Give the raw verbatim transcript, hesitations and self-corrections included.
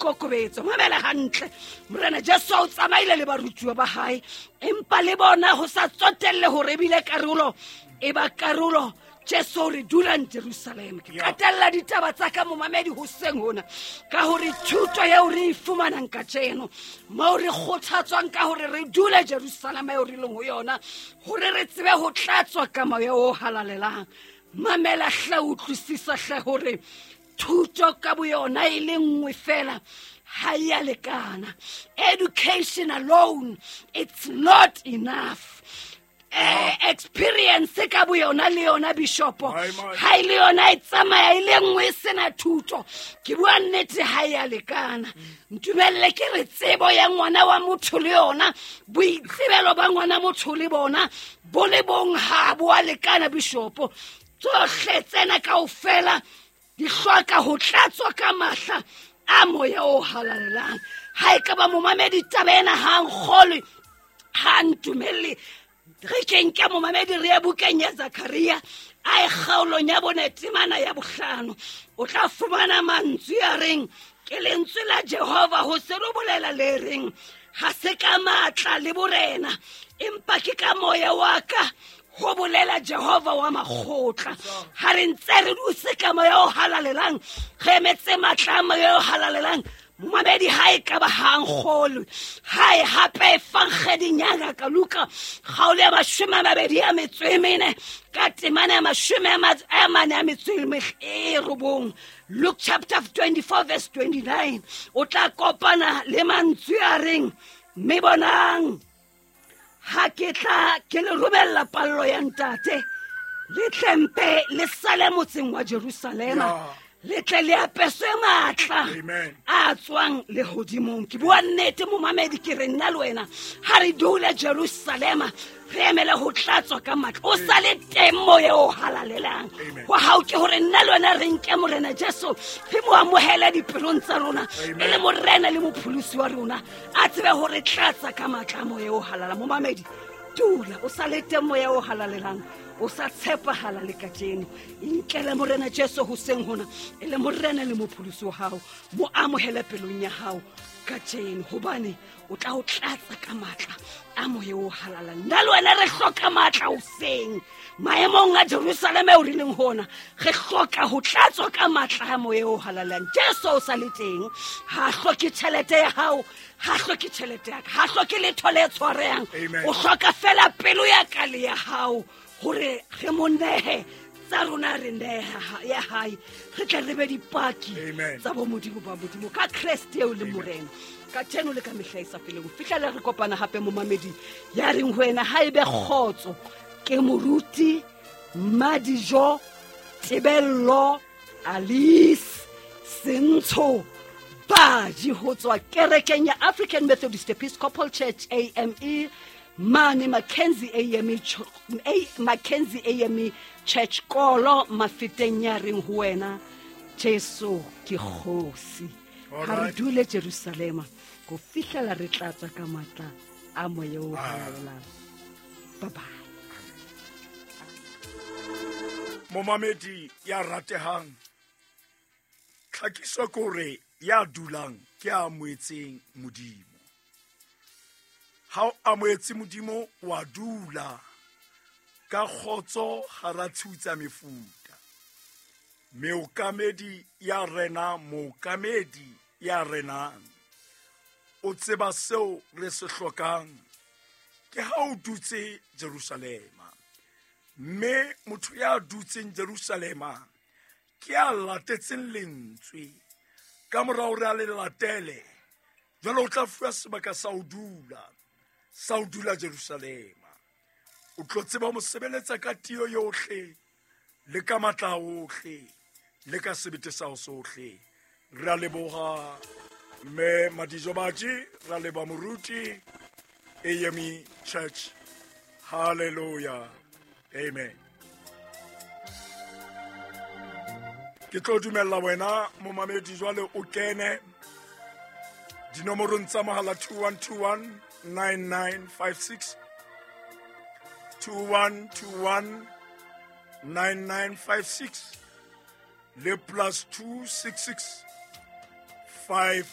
boikokobetso. Mamela hantle, Morena Jesu o tsamaile le barutuwa ba hae, empa le bona ho sa tsotelle hore ebile karolo e ba karolo. Jesu re dulang Jerusalem. Ke qetella ditaba tsa ka momamedi hoseng hona ka hore thuto eo re e fumanang kajeno, moo re kgothatswang ka hore re dule Jerusalem eo re leng ho yona, hore re tsebe ho tlatswa ka moya o halalelang. Mamela hle, utlwisisa hle hore thuto ka boyona e le nngwe fela ha e a lekana. Education alone, it's not enough. Eh, experience ka boyona le yona bishopo ha e le yona e tsamaya e le nngwe e sena thuto. Ke bua nnete, ha e a lekana. Ntumelle ke re tsebo ya ngwana wa motho le yona, boitsebelo ba ngwana motho le bona bo le bong ha bo a lekana bishopo. Tsohle tsena kaofela di hloka ho tlatswa ka mahla a moya o halalelang. Ha e ka ba momamedi taba ena ha nkgolwe, ha ntumelle, re ke nke momamedi re ye bukeng ya Zakaria a e kgaolong ya bone temana ya bohlano. O tla fumana mantswe a reng ke lentswe la Jehova ho se re bolela le reng ha se ka matla le borena, empa ke ka moya wa ka, ho bolela Jehova wa makgotla. Ha re ntse re dutse ka moya o halalelang, re emetse matla a moya o halalelang. Momamedi ha e ka ba ha nkgolwe, ha e hape efankgeding ya ngaka Luka kgaolo ya mashome a mabedi a metso e mene ka temana ya mashome a mane a metso e robong, Luke chapter twenty-four verse twenty-nine, o tla kopana le mantswe a reng mme bonang ha ke tla ke le romella pallo ya ntate, le tlempe le sale motseng wa Jerusalema, le tle le apeswe matla a tswang lehodimong. Ke bua nnete momamedi, ke re nna le wena ha re dule Jerusalema re emele ho tlatswa ka matla. O sa le teng moya o halalelang wa hao, ke hore nna le wena re nke Morena Jesu re mo amohele dipelong tsa rona e le Morena le mopholosi wa rona, a tsebe hore tlatsa ka matla a moya o halala. Momamedi, dula o sa le teng moya o halalelang, o sa tshepahala le kajeno. Inkele Morena Jesu hoseng hona e le Morena le mopholosi wa hao, mo amohele pelong ya hao kajeno, hobane o tla o tlatsa ka matla a moya o halalelang. Nna le wena re hloka matla hoseng maemong a Jerusalem eo re leng hona, re hloka ho tlatswa ka matla a moya o halalelang. Jesu o sa le teng, ha hloke tjhelete ya hao, ha hloke tjhelete ya ka, ha hloke letho le tshwarehang. O hloka fela pelo ya ka le ya hao, hore re mo nehe tsa rona, re neha ya hae, re tle re be dipaki tsa bo Modimo ba Modimo ka Kreste eo le Morena kajeno le ka mehla e sa feleng. Ho fihlela re kopana hape momamedi ya reng ho wena ha ebe kgotso. Ke moruti Madijo Tebello Alice Sentsho Baji ho tswa kerekeng ya African Methodist Episcopal Church A M E mane Mackenzie A M E A Mackenzie A M E Church Kolo Mafeteng ya reng ho wena Jesu ke kgosi. Ha re dule Jerusalema go fihlela re tlatswa ka matla a moya o halalelang. Bye bye. Momamedi ya ratehang, tlhakiso ke hore ya dulang ke a amohetseng Modimo. Ha o amohetse Modimo wa dula ka kgotso hara tshiu tsa mefuta. Meokamedi ya rena, mookamedi ya renang, o tseba seo re se hlokang ke ha o dutse Jerusalema. Mme motho ya dutseng Jerusalema ke a latetseng lentswe. Ka mora hore a le latele, jwale o tla fuwa sebaka sa ho dula, sa ho dula Jerusalema. O tlo tseba ho mo sebeletsa ka tiyo yohle, le ka matla ohle, le ka sebete sa ho sohle. Re a leboha mme Madijo Baji, re a leboha moruti A M E Church. Hallelujah. Amen. Ke tlo dumella wena momamedi jwale o kene dinomorong tsa mohala two one two one nine nine five six, two one two one nine nine five six le plus two six six five